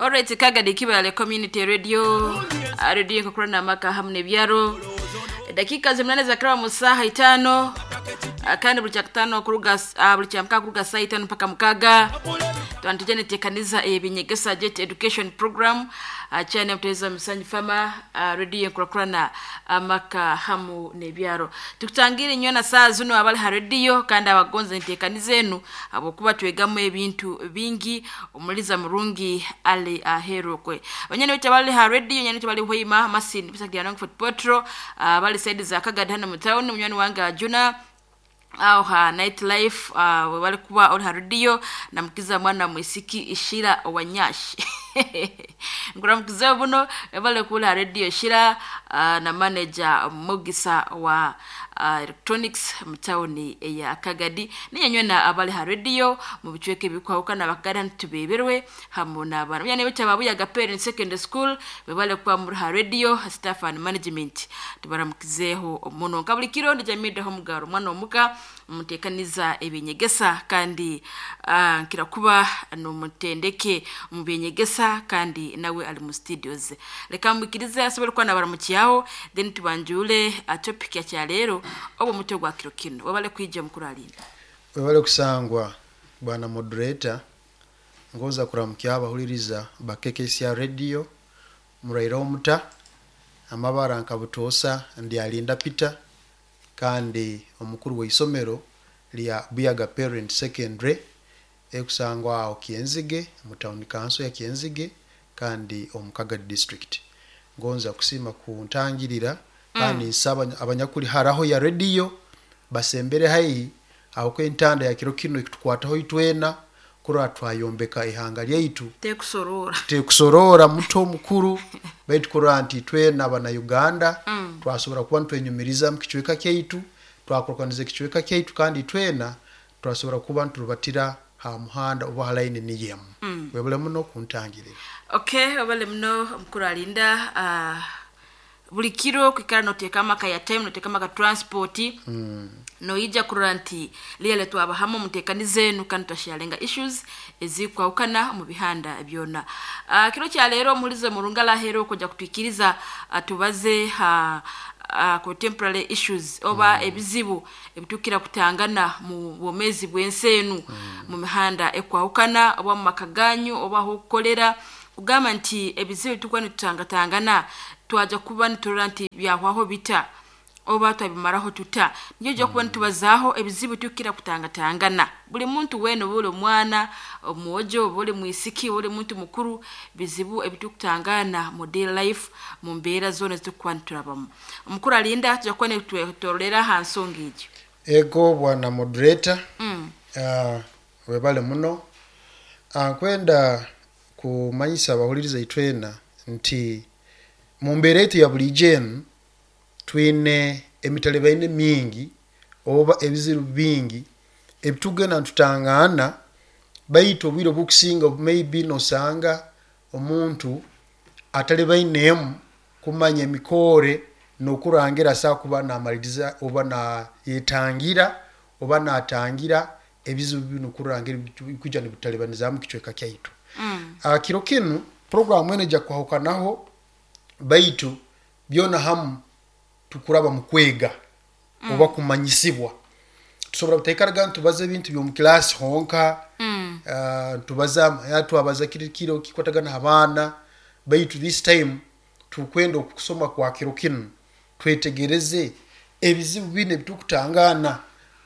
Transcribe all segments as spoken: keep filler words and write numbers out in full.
Alright, Kagadi Kibale Community Radio, radio kukurana amaka hamu n'ebyaro. Dakika zimunane za kirawa mu saha itano, kandi buli kyakutano kuruga uh, buli kyamka kuruga saa itano mpaka mukaga. Twantujane tekaniza ebinyegesa Jet Education Program chane muteza misanyu fama uh, radio nkurakurana amaka hamu n'ebyaro. Tukutangire nyona saa zino abali ha radio kandi abagonza ntekaniza enu abokuba twegamu ebintu bingi omuliza murungi ali ahero kwe. Abanyene bicha bali ha radio nyane bali hoima masin bisa kya Fort Potro uh, bali side za Kagadi hano mu town munywani wange Juna au ha night life uh, wali kuba oli ha radio na mkiza mwana mwisiki Ishira Wanyashi nkuramukiza buno bale kula radio Ishira uh, na manager Mugisa wa uh, electronics mutawuni ya Kagadi ninyanywe na abali ha radio mu bicweke bikwahukana bakagada ntubeberwe hamu n'abana myane bicha babuya Gapere Secondary School bebale kuba muri ha radio staff and management tubaramukizeho muno kabuli kiro ndijamide ho mugaro mwana omuka mutekaniza ebinyegesa kandi uh, nkira kuba numutendeke mu binyegesa kandi nawe ali mu studios. Reka mukirize asobole kuba nabaramukiyaho then tubanjule topic ya kya lero obo mutwe gwa kiro kino wabale kwija mukuru alinda wabale kusangwa bwana moderator ngoza kuramukia abahuliriza bakekesia radio muraira omuta amabara nkabutosa ndi Alinda Peter kandi omukuru w'isomero lya Buyaga Parent Secondary ekusangwa aho Kienzige mu town council ya Kienzige kandi omukaga district. Ngonza kusima kuntangirira kandi mm. nsaba abanyakuli haraho ya radio basembere haihi aho kwentanda ya kiro kino ikutukwataho itwena kura twayombeka ihanga lyaitu tekusorora tekusorora muto mukuru baitu kura nti twena bana Uganda mm. twasobora kuba ntwenyumiriza mu kichweka kyaitu twakorokaniza kichweka kyaitu kandi twena twasobora kuba nturubatira ha muhanda oba halaini niyemu mm. webale muno kuntangirira. Okay, webale muno mukuru Alinda. uh, buli kiro kwikara noteka amaka ya time noteka amaka transport mm. noija kurora nti liyale twabahamo mutekanize enu kandi twasharenga issues ezikwahukana mu bihanda byona. Uh, kiro kya lero mulize murungala hero kujya kutwikiriza atubaze ha uh, contemporary issues oba mm. ebizibu ebitukira kutangana mu bomezi bwensenu mm. mu mihanda ekwahukana oba mu makaganyu oba hokolera kugamba nti ebizibu tukwa nitutangatangana twaja kuba niturora nti byahwaho bita oba twabimaraho tuta niyo jya kuba nitubazaho ebizibu tukira kutangatangana buli muntu wene buli mwana omwojo buli mwisiki buli muntu mukuru bizibu ebitukutangana mu daily life mu mbeera zone zitukuba niturabamu. Omukuru Alinda tujya kuba nitwetorera ha nsonga egyo. Ego bwana moderator mm. uh, webale muno uh, kwenda kumanyisa abahuliriza itwena nti mu mbeera yaitu ya buli jenu twine emitalebaine mingi oba ebizibu bingi ebitugenda ntutangana baitu obwire obukusinga maybe nosanga omuntu atalebainemu kumanya emikore nokurangira sa kuba namaliriza oba nayetangira oba natangira ebizibu bino kurangira kuja nibutalebaniza mu kichweka kyaitu. Mm. Uh, kiro kinu programu ene ja kwahukanaho baitu byona hamu tukuraba mu kwega mm. oba kumanyisibwa tusobora butekaraga ntubaza ebintu byo mu class honka mm. uh, tubaza yatwabaza kiri kiro kikwatagana abaana baitu this time tukwenda okusoma kwa kiro kinu twetegereze ebizibu bine bitukutangana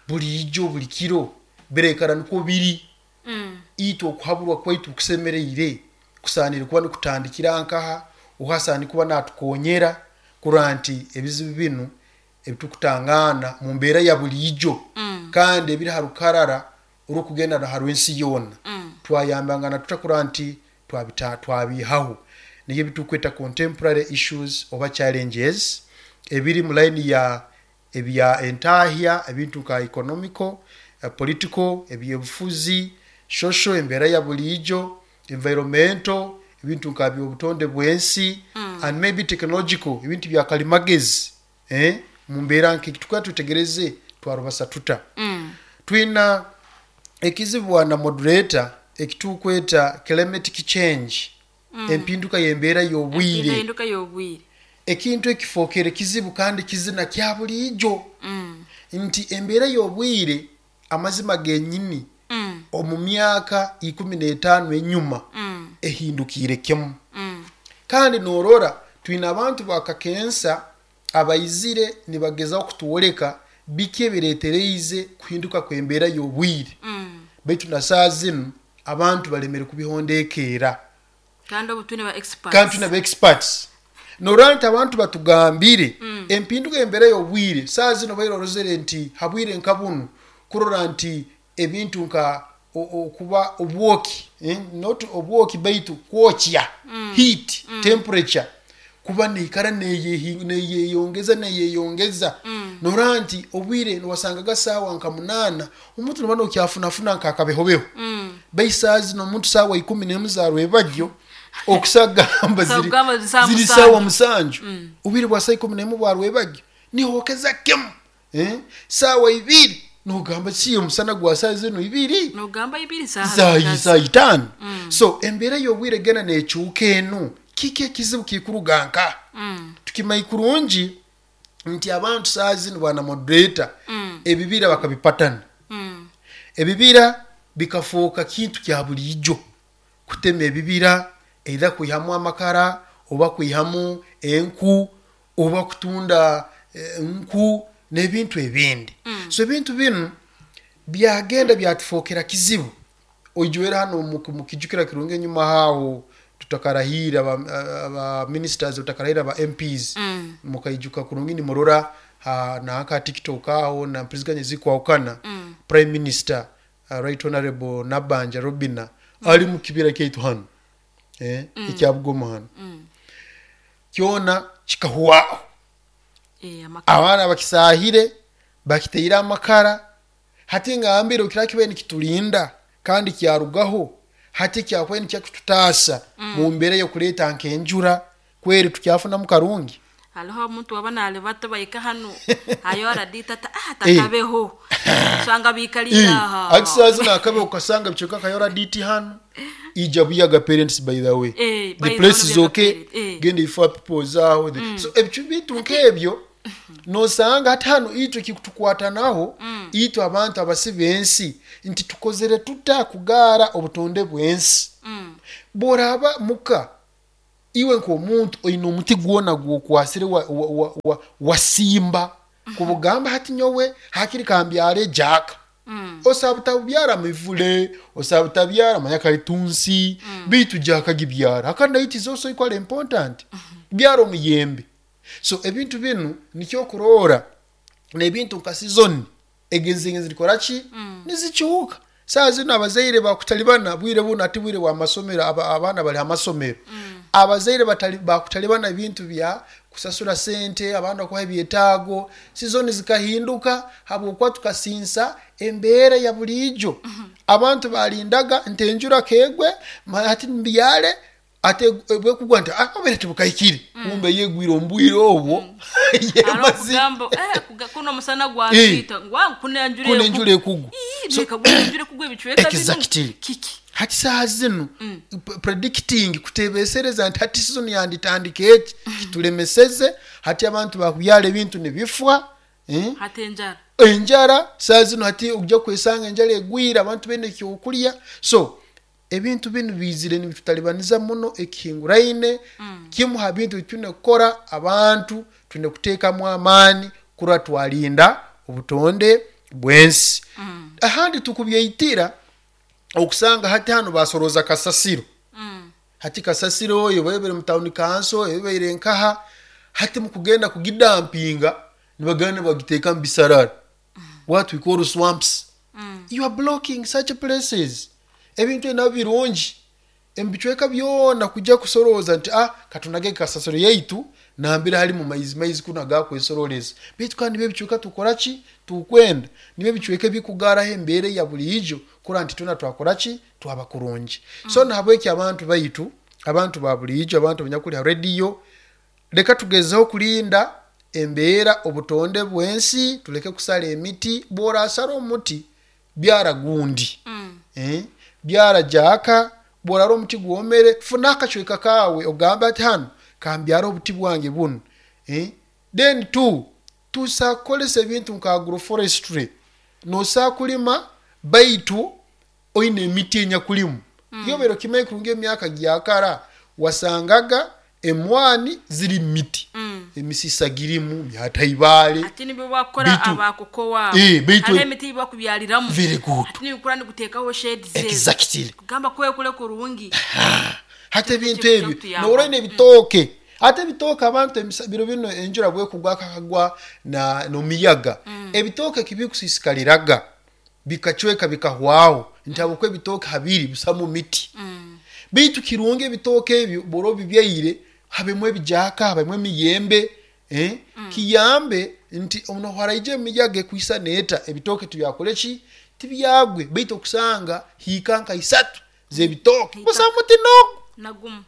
buli ijo buli kiro berekana niko biri mm. ito okuhaburwa kwaitu kusemereire kusanire kuba nikutandikira nkaha uhasani kuba natukonyera kuranti ebizibu binu ebitukutangana mu mbeera ya buli ijo mm. kandi ebiri harukarara orukugenda na harwensi yona mm. twayambangana tutakuranti twabita twabihaho niyo bitukweta contemporary issues oba challenges ebiri mu line ya ebya entahya ebintu ka economical, uh, political, ebyebufuzi, social embeera ya buli ijo, environmental ebintu nka byobutonde bwensi mm. and maybe technological ebintu bya kalimagezi eh mu mbeera nke tukwa tutegereze twarubasa tuta mm. twina ekizibu na moderator ekitukweta climatic change Empinduka y'embeera y'obwire. Empinduka y'obwire. Ekintu ekifookere kizibu kandi kizina kya buliijo, Mm. nti embeera y'obwire, amazima genyini, Mm. omu myaka ikumi n'etaano enyuma Mm. ehindukiire kimu. Mm. Kandi norora twine abantu bakakensa abaizire nibagezaho kutwoleka biki ebireetereize kuhinduka kw'embeera y'obwire, Mm. baitu na saa zinu abantu balemere kubihondekeera. Kandi obu twine ba experts. Kandi twine ba experts. Norora nti abantu batugambire empinduka y'embeera y'obwire, saa zino baire orozere nti habwire nka bunu kurora nti ebintu nka o- okuba obwoki, eh, not obwoki baitu kwokya, heat, temperature kuba neikara neyehi- neyeyongeza neyeyongeza. Norora nti obwire niwasangaga saawa nka munaana omuntu noba nokyafunafuna nkakabehobeho, Mm. baisaa zino omuntu saawa ikumi nemu za rwebagyo okusagamba ziri Kusagamba ziri saawa ziri musanju. saawa musanju. Obwire bwa saa ikumi nemu bwa rwebagyo nihokeza kemu, eh? Saawa ibiri nogamba si omusana gwa saa zino ibiri. Nogamba ibiri saha Saa zikazi. saa itaano. So embeera y'obwire gena nekyuka enu, kiki ekizibu kikuruga nka? Mm. Tukimanyi kurungi nti abantu saa zino, bwana moderator, Mm. ebibira bakabipatana. Mm. Ebibira bikafuuka kintu kya buliijo, kutema ebibira, either kwihamu amakara oba kwihamu enku oba kutunda eh, nku n'ebintu ebindi. So ebintu binu byagenda byatufookera kizibu. Oijwera hano mu- mukijukira kirungi enyuma haawo tutakarahira aba, aba ministers, tutakarahira aba M Ps, Mm. mukaijuka kurungi nimurora ha, nanka TikTok aho na mpuliziganya zikwawukana, Mm. Prime Minister, uh, Right Honorable Nabanja Robina, ali mu kibira kyaitu hano, eh, mm. ekyabugoma hano, Mm. kyona kikahuwaho. Eh, amakara. Abaana bakisahire, bakiteire amakara. Hati ngambire okira kibaire nikitulinda kandi kyarugaho, hati kyakubaire nikyakututaasa mu mbeera y'okuleeta nk'enjura, kweri tukyafunamu karungi. Haliho omuntu waba nalibata bahika hano ayo aradita ta ah takabeho sanga bikalira aha. Ati saa zino akabe ukasanga bichoka kayora diti hano ija buyaga parents, by the way, Eh, by the the place way, is okay. parent, eh. Genda ifa people zaho the so ebyo bintu nk'ebyo nosanga hati hano itwe kikutukwatanaho itwe abantu abasi b'ensi nti tukozere tuta kugaara obutonde bw'ensi. Mm. Bw'oraba muka iwe nk'omuntu oine omuti gwona gwokwasire wa, wa, wa, wa, wasimba kubugamba hati nyowe hakiri kambyare jaka, Mm. osaba utabyara mivule, osaba utabyara manyakalitunsi, bitu jaka gibyara akandi it is also equally important. Byara omuyembe. So ebintu binu nikyo kurora nebintu nka season egenzengenzi likoraki nizikyuka. Saa zino abazaire bakutalibana bwire buno, ati bwire bwa masomero, aba, abaana bali amasomero, abazaire batali bakutalibana ebintu bya kusasura sente abaana kuha ebyetaago. Season zikahinduka habwokuba tukasinsa embeera ya buliijo. Abantu balindaga nti enjura kegwe ma- ati mbyale, ate bwekugwa nti ah, obere tebukahikire, kumbe yegwire omu bwire obwo Hariho yemazi. kugamba eh kuga- kuno omusana gwatwita ngwa kuna enjura. Kuna enjura ekugwa. So, So- reka gwa enjura ekugwa ebicweka bino. Exactly. Kiki? Hati saa zino p- predicting, kutebesereza nti hati season yanditandika eki, kitulemeseze. Hati abantu bakubyala ebintu nibifwa, eh? Hati enjara. Enjara saa zino hati ojja kwesanga enjara egwire abantu bene ekyokulya. So ebintu binu bizire nibitutalibaniza muno ekihinguraine. Kimu ha bintu bitwine kukora, abantu twine kuteekamu amaani kurora twalinda obutonde bw'ensi. Ahandi tukubyeitira okusanga hati hano basoroza kasasiro. Mm. Hati kasasiro oyo baebere mu town council ebeire nkaha, hati mukugenda kugidampinga nibagenda bagiteeka mu bisarara, what we call swamps. You are blocking such places. Ebintu ebyo nabyo birungi ebicweka byona kujja kusorooza nti ah katunage kasasiro yaitu nambere hali mu maizi maizi kuno agakwesoroleza, baitu kandi nibyo ebicweka tukora ki tukwenda, nibyo ebicweka ebikugaraho embeera ya buliijo kura nti twena twakora ki twaba kurungi. So nahabweki abantu baitu, abantu ba buliijo, abantu abanyakuli ha rediyo, leka tugezeho kulinda embeera obutonde bw'ensi, tuleke kusala emiti. Bw'orasara omuti, byara gundi, Mm. eh? Byara jaka. Bworara omuti gwomere, funa akacweka kawe ogambe ati hanu kambyara obuti bwange bunu, eh? Then two, tusakukolesa ebintu nka agroforestry. Nosa kulima baitu oine emiti enyakulimu. mm. Yobero kimanyi kurungi emyaka gyakara wasangaga emwani ziri miti, Mm. emisisa girimu myata ibale. Ati nibyo bakora Baitu- abakokowa. Eh, baitu- Hariho emiti bakubyaliramu. Very good. Ati nibikura nikuteekaho shades ezo. Exactly. Kugamba kwekule kurungi. Hati ebintu Kyo ebyo kutuyamba. noroine ebitooke, ate ebitooke abantu emisa- biro bino enjura bwekugwa kakagwa na nomiyaga, ebitooke kibikusiisikaliraga bikacweka bikahwaho nti ebitooke habiri busamu miti. Baitu kirungi ebitooke ebyo bwora obibyaire habemu ebijaka, habemu emiyembe, eh? Kiyambe nti ono haraije emiyaga ekwisa neeta ebitooke tibyakole ki, tibyagwe. Baitu okusanga hiika nka isatu z'ebitooke Hiika. busa muti nogu Nagumu.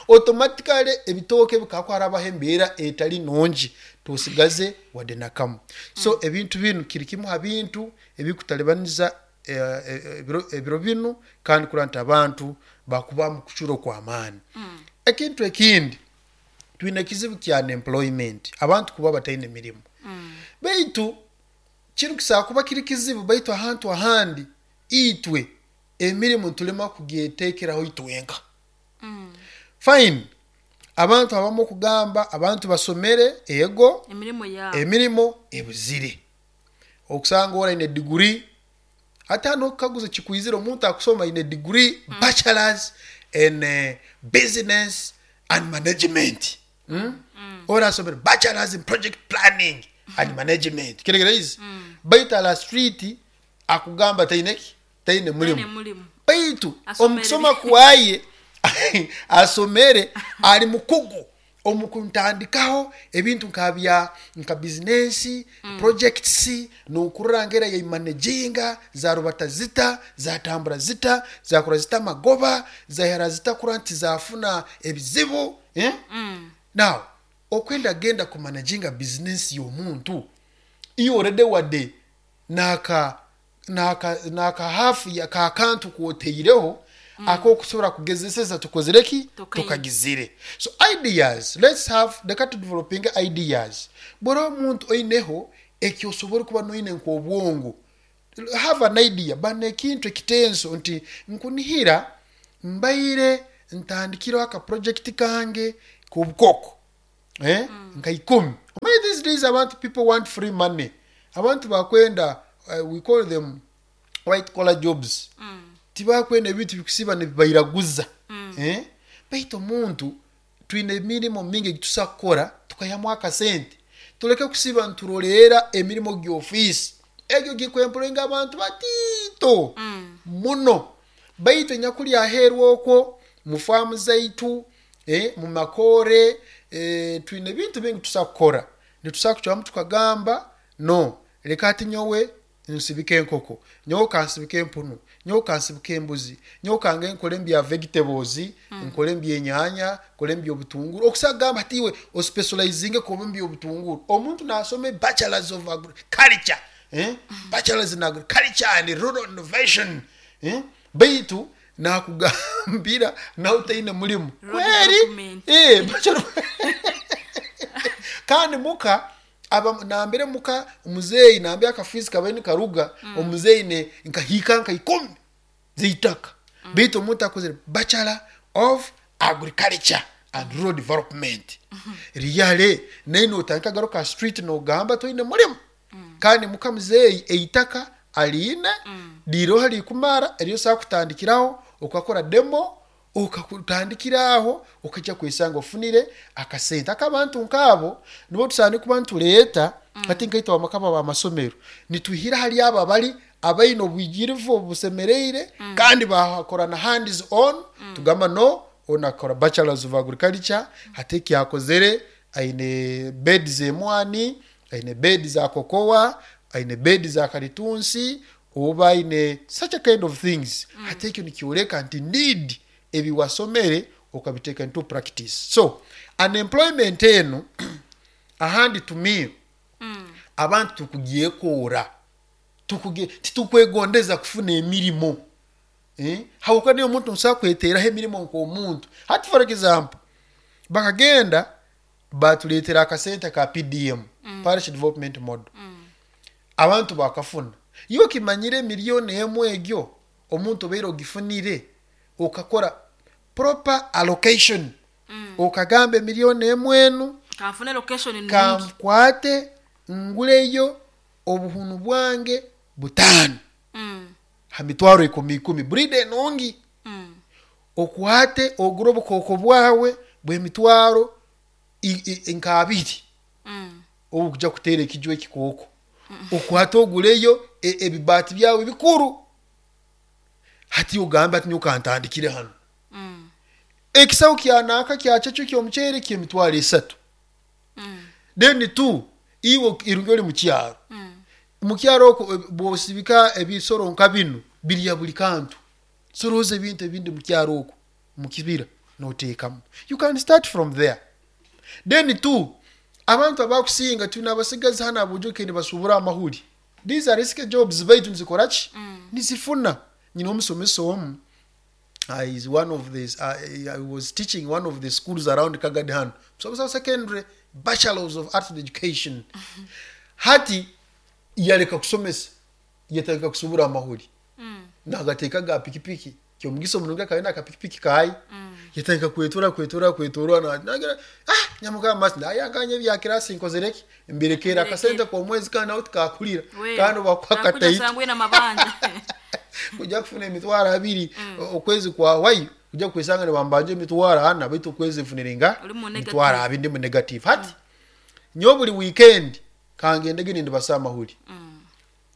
Automatically ebitooke bikakwarabaho embeera etali nungi, tosigaze wadde nakamu. So ebintu binu kiri kimu ha bintu ebikutalibaniza eh, eh, ebiro, ebiro binu, kandi kurora nti abantu bakuba mu kucura okw'amaani. Ekintu ekindi, twine ekizibu kya unemployment, abantu kuba bataine mirimu. Baitu kinu kisobola kuba kiri kizibu, baitu ahantu ahandi itwe emirimu ntulema kugyeteekeraho itwenka. Fine, abantu abamu okugamba abantu basomere ego, emirimu yaabo emirimo ebuzire. Okusanga ora aine degree, ate hano okukaguza kikwizire omuntu akusoma aine degree, bachelors in uh, business and management, mm? Ora asomere bachelors in project planning and management, kiregeraizi, baitu ala street akugamba taine ki, taine Taine mulimu. Mulimu. Baitu Asomere. omukusoma kwaye asomere, ali mukugu omukuntandikaho ebintu nka bya nka bizinesi, projects, nokurora ngera yaimanaginga zarubata zita, zatambura zita, zakora zita amagoba, zahera zita kura nti zafuna ebizibu, eh? Now okwenda genda kumanaginga bizinesi y'omuntu, iyo already wadde naka naka naka hafu ya kakantu kwoteireho mm. akokusobora kugezeseza tukozere ki, Tukaine. tukagizire. So ideas, let's have, leka tudeveloping ideas. Bwera omuntu oineho ekyosobora kuba noine nk'obwongo, have an idea bana ekintu ekitenso nti nkunihira mbaire ntandikireho aka project kange k'obukoko, eh? Nka ikumi. Omanyi these days abantu, people want free money. Abantu bakwenda, uh, we call them white collar jobs, tibakwenda ebintu bikusiba nibibairaguza, eh? Baitu omuntu twine emirimu mingi egitusa kukora tukayamu akasente, tuleke kusiba nturoleera emirimu gy'ofiisi egyo gikwempuloyinga abantu batiito muno. Baitu enyakuli aheeru okwo mu faamu zaitu, eh, mu makoore, eh, twine ebintu bingi tusa kukora. Nitusa kucwamu tukagamba no, leka ati nyowe nsibike enkoko, nyowe kansibike empunu, nyowe kansibike embuzi, nyowe kange nkole mbya vegetables, nkole mbyenyanya, nkole mbyobutunguru. Okusagamba ati iwe ospecializinge kuba mbyobutunguru, omuntu nasoma bachelors of agriculture, eh? Bachelors in agriculture and rural innovation, eh? Baitu nakugambira nawe taine mulimu. Rural kweri development. Eh, bachelor kandi muka aba nambere muka omuzeeyi nambe akafiisi kabaire nikaruga omuzeeyi ne nkahiika nka ikumi zeitaka. Baitu omuntu akozere bachelor of agriculture and rural development, riyale naye notandika garuka street nogamba toine mulimu. Kandi muka muzeeyi eitaka aliine liroho likumara eryo sakutandikiraho okakora demo, okakutandikira aho okajja kwesanga ofunire akasente. Akabantu nkaabo nibo tusaana kuba nituleeta hati nkaitwe abamakama b'amasomero, nituhira hali abo abali abaine obwigirivu obusemereire kandi bakora na hands on. Tugamba no, onakora bachelors of agriculture, hati ekyakozere aine bed zemwani, aine bed za kokowa, aine bed za kalitunsi, oba aine such a kind of things. Hati ekyo nikyoleka nti need ebiwasomere okabiteeka into practice. So unemployment eno ahandi to me abantu tukugyekoora, tukuge titukwegondeza kufuna emirimu, Eh? Habwokuba niyo omuntu nsobola kweteraho emirimo nk'omuntu. Hati, for example, bakagenda batuleetera akasente ka P D M, Parish Development Model. Abantu bakafuna. Iwe kimanyire miliyoni emu egyo omuntu obaire ogifunire, okakora proper allocation, okagamba emiliyoni emu enu kanfune location nungi, kankwate nguleyo obuhunu bwange butaano Mm. ha mitwaro ikumi ikumi, breed enungi, Mm. okwate ogure obukooko bwawe bw'emitwaro i- i- nk'abiri Mm. obukuja kuteera ekijwa ekikooko, okwate oguleyo e- ebibaati byawe bikuru. Hati ogambe ati nyowe kantandikire hano. Mm. Ekisawo kyanaka kyakyo kyomuceere kyemitwaro esatu. Mm. Then two, iwe irungi oli mukyaro, Mm. mukyaro okwo, eh, bwosibika ebisoro nka bino birya buli kantu. Soroza ebintu ebindi mukyaro okwo mukibira noteekamu. You can start from there. Then two, abantu abakusinga tulina abasigazi hano abujuke nibasubura amahuri. These are risky jobs, baitu nizikora ki, nizifuna. Nyina omusomesa omu, uh, is one of the uh, I was teaching one of the schools around Kagadi hano, musomesa wa secondary, bachelors of arts and education. Hati yaleka kusomesa, yatandika kusubura amahuri. Mm. Nagateeka ga pikipiki. Kyomugisa omunungi akabona akapikipiki kayi, yatandika kwetura kwetura kwetura. na- nagira ah nyamuka masi nayanganye ebya kirasi nkozereki mbirekera akasente k'omwezi kandi nawe tikakulira We, kandi bakuha nakuja kataito. Sangwe na mabanja. Kujja kufuna emitwaro abiri okwezi kwawayo, kujja kwesanga nibambanja emitwaro ana, baitu okwezi nfunire nga Oli mu negative. mitwaro abiri, ndi mu negative. Hati nyowe buli weekend kangendege nindibasa amahuri. Mm.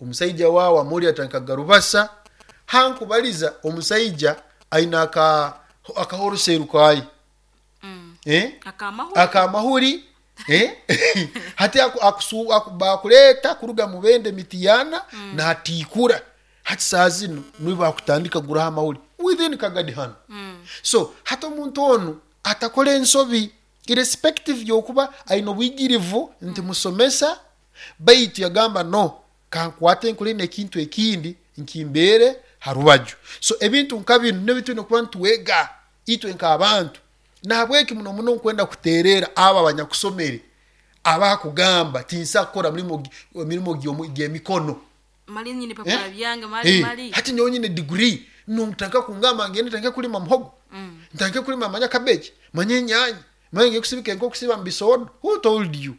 Omusaija waawe amuri atandika garubasa hankubaliza. Omusaija aina aka akahoroseru kayi. Mm. Eh? Akamahuri. Akamahuri, eh? Hati aku, akusu, aku, bakuleeta kuruga mubende mitiyana mm. natiikura. Hati saa zino niwe bakutandika guraho amahuri within Kagadi hano. Mm. So hati omuntu onu atakora ensobi, irrespective yokuba aine obwigirivu nti musomesa, baitu yagamba no, kankwate nkole nekintu ekindi nkimbeere harubaju. So ebintu nka binu nibyo tulina kuba nitwega itwe nk'abantu. Nahabweki muno muno nkwenda kuterera abo abanyakusomere abakugamba tinsa kukora mirimo gi- mirimo gy'omu- gy'emikono. Mali nyini papula Eh? byange mali. Eh, mali. Hati nyowe nyine degree notandika kungamba ngende ntandike kulima muhogo, Mm. ntandike kulima manya cabbage, manya enyanya, manya ngiye kusibika enkoko, kusiba mu bisodo. Who told you?